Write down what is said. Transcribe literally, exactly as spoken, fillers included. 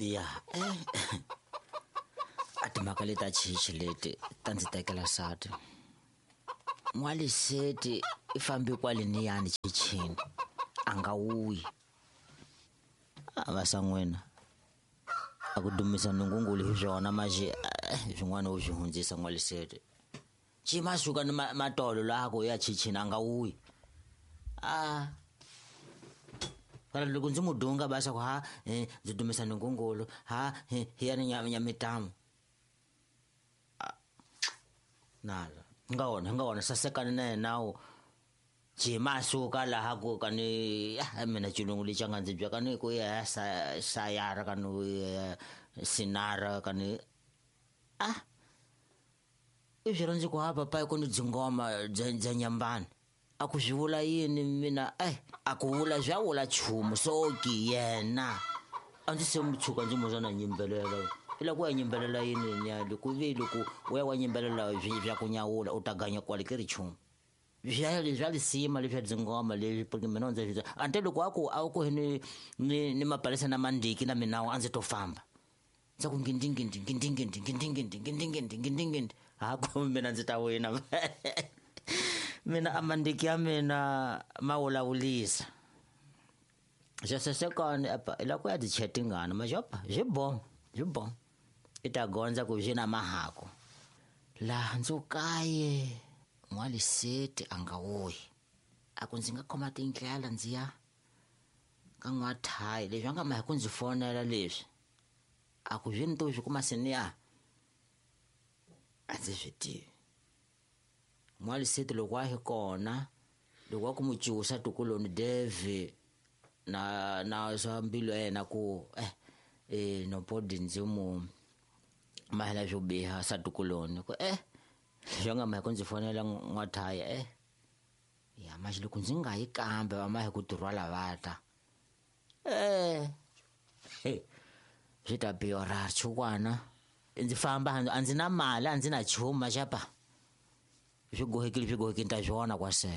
Ya eh a timhaka leti ta chichi leti ta ndzi tekela sati. N'waliseti i fambe kwale niyani chichini a nga wuyi. A va san'wina a ku dumisa nungungulu hi swona maje swin'wana u swi hundzisa n'waliseti. Chima suka ni matolo laha ku ya chichini a nga wuyi. A fana loko ndzi mu dunga ba swa ku ha ndzi dumisa nungungulu ha hi ya ni nyamitamu. Nala nga wona nga wona sasekani na yena wu jima suka laha ku ka ni mina xilungu lexi a nga ndzi bya ka ni ku ya sa sayara ka ni sinara ka ni a i swi rhandzi ku ha papa ku ni dzingoma bya bya nyambani a ku swi vula yini mina eh a ku vula swa vula chumu so ki yena a ndzi se mu tshuka ndzi muzwa na nyimbelela i la ku ya nyimbelela yini nya loko vi loko u ya wa nyimbelela swi swa ku nyawula u ta ganya kwale ke ri chumu bya bya lisima leswi dzingoma leswi porque mina ndzi swi ante loko a ku a ku ni ni ni mapalesa na mandiki na mina a ndzi to famba ndza ku ngindi ngindi ngindi ngindi ngindi ngindi ngindi ngindi ngindi ngindi ha ku mina ndzi ta wina mina amandiki ya mina ma vulavulisa xasesekani apa i la ku ya ti chetingana majopa byi bo byi bo i ta gondza ku byi na mahako laha ndzi kaye n'waliseti a nga wuyi a ku ndzi nga khoma tindlela ndzi ya ka n'wathayi leswi a nga ma hi ku ndzi fonela leswi a ku byi ni to swi kuma seniya a ndzi swi tivi. N'waliseti loko a hi kona loko a ku mu cusa tukuloni Dave na na swa mbilu ya yena ku eh eh nopodi ndzi mu mahela swo biha sa tukuloni ku eh leswi a nga ma hi ku ndzi fonela n'wathaya eh ya manje loko ndzi nga yi kambe va ma hi ku tirhwala vata eh swi ta biora chukwana ndzi famba a ndzi na mali a ndzi na chuma xapa swi gohekile swi gohekile ta swona kwase.